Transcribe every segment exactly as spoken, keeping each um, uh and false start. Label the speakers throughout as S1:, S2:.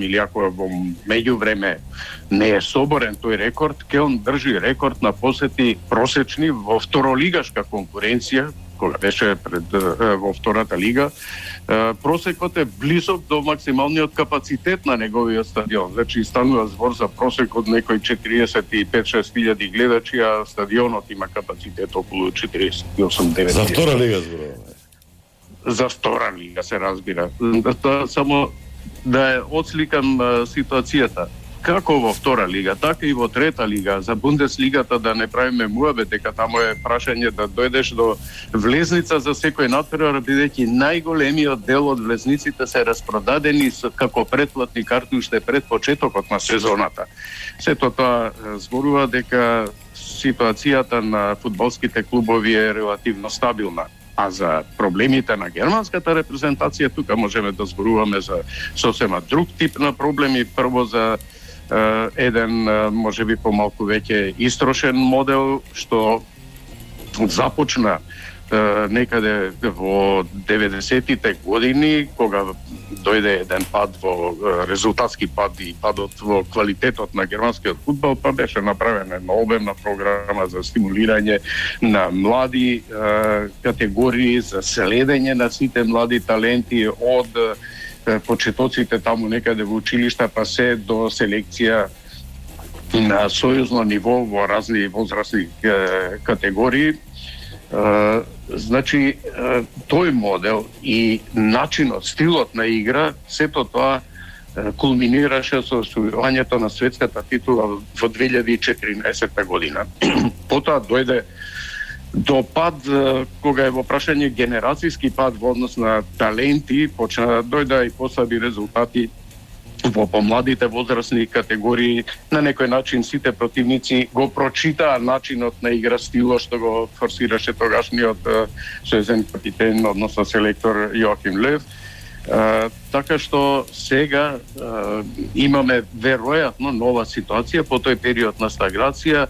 S1: или ако во меѓувреме не е соборен тој рекорд, ке он држи рекорд на посети просечни во второлигашка конкуренција, кога беше пред во втората лига, просекот е близок до максималниот капацитет на неговиот стадион. Значи станува збор за просек од некои четириесет и пет шест илјади гледачи, а стадионот има капацитет околу четириесет и осум девет.
S2: За втора лига зборуваме.
S1: За втора лига се разбира. Да, само да е отсликам ситуацијата. Како во втора лига, така и во трета лига, за Бундеслигата да не правиме муабет, дека таму е прашање да дојдеш до влезница за секој натпревар, бидејќи најголемиот дел од влезниците се распродадени како претплатни карти уште пред почетокот на сезоната. Сето тоа зборува дека ситуацијата на фудбалските клубови е релативно стабилна. А за проблемите на германската репрезентација, тука можеме да зборуваме за сосема друг тип на проблеми. Прво за Uh, еден, uh, може би помалку веќе истрошен модел, што започна uh, некаде во деветдесетите години, кога дојде еден пад во uh, резултатски пад и падот во квалитетот на германскиот фудбал, па беше направена една обемна програма за стимулирање на млади uh, категории, за следење на сите млади таленти од почетоците таму некаде во училишта, па се до селекција на сојузно ниво во разни возрастни е, категории. Е, значи, е, тој модел и начинот, стилот на игра, сето тоа е, кулминираше со освојувањето на светската титула во две илјади и четиринаесетта година. Потоа дојде до пад, кога е во прашање генерацијски пад во однос на таленти, почна дојда и послаби резултати во помладите возрастни категории. На некој начин сите противници го прочитаа начинот на игра, стилот што го форсираше тогашниот сојузен капитен, односно селектор Јоахим Лев. Uh, така што сега uh, имаме веројатно нова ситуација по тој период на стагнација.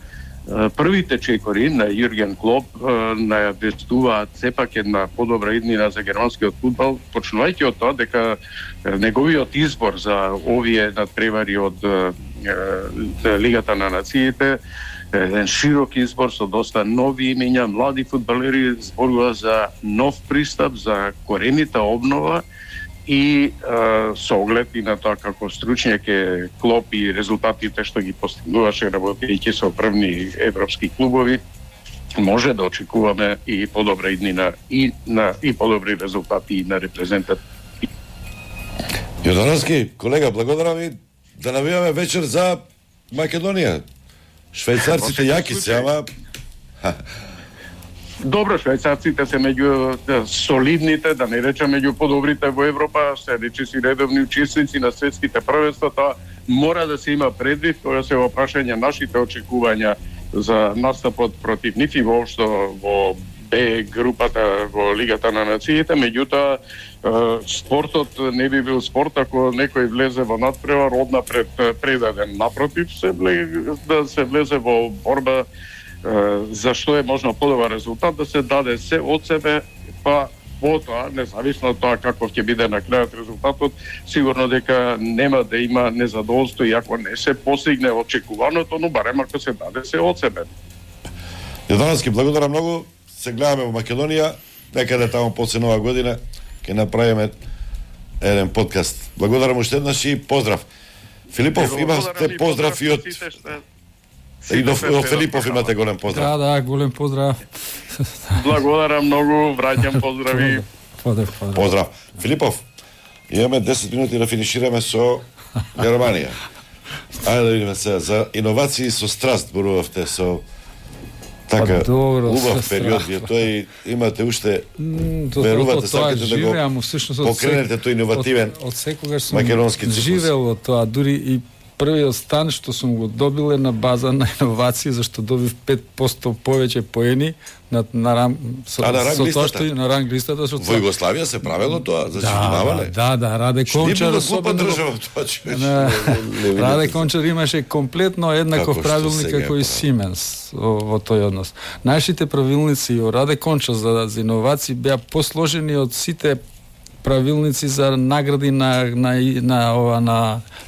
S1: Првите чекори на Јурген Клоп најавестуваат сепак една подобра иднина за германскиот фудбал, почнувајќи од тоа дека неговиот избор за овие надпревари од Лигата на нациите, еден широк избор со доста нови имења, млади фудбалери, зборува за нов пристап, за коренита обнова и а, со оглед и на тоа како стручњак е Клоп и резултатите што ги постигнуваше работејќи со првни европски клубови, може да очекуваме и подобра иднина и на и подобри резултати на репрезентат.
S2: Јордански, колега, благодарам ви, да навиваме вечер за Македонија. Швајцарците јаки се, ама
S1: добро, швајцарците се меѓу да, солидните, да не речем меѓу подобрите во Европа, се речи си редовни учесници на светските првенства, тоа мора да се има предвид кога се во прашање нашите очекувања за настапот против нив и воопшто во Б групата во Лигата на нациите. Меѓутоа, спортот не би бил спорт ако некој влезе во надпревар однапред предаден. Напротив, се влезе, да се влезе во борба за што е можно подобар резултат, да се даде се од себе, па потоа, независно од тоа каков ќе биде на крајот резултатот, сигурно дека нема да има незадоволство и ако не се постигне очекуваното, но барем ако се даде се од себе.
S2: Јордански, благодарам многу. Се гледаме во Македонија, некаде таму после нова година ќе направиме еден подкаст. Благодарам уште еднаш и поздрав. Филипов, имате поздрав и од И до, до Филипов имате голем поздрав.
S3: Да, да, голем поздрав.
S1: Благодарам многу, враќам поздрави.
S3: Поздрав, поздрав.
S2: Поздрав. Филипов, имаме десет минути да финишираме со Германија. Ајде да видиме сега за иновации со страст зборувавте со така
S3: добро,
S2: убав период, вие тој имате уште верувате, сакате да го покренете тој иновативен
S3: од секогаш сум
S2: македонски цикус.
S3: Живел од тоа, дури и првиот стан што сум го добил е на база на иновации, зашто добив пет проценти повеќе поени на на рам со,
S2: а, на ранг
S3: со
S2: листата?
S3: Тоа што и на ранг листата што
S2: во Југославија се правело тоа за сочинавање.
S3: Да, да, да, Раде Кончар
S2: особено држава тоа
S3: човече. Раде Кончар имаше комплетно еднаков правилник како и Сименс во тој однос. Нашите правилници од Раде Кончар за, за иновации беа посложени од сите правилници за награди на на на ова на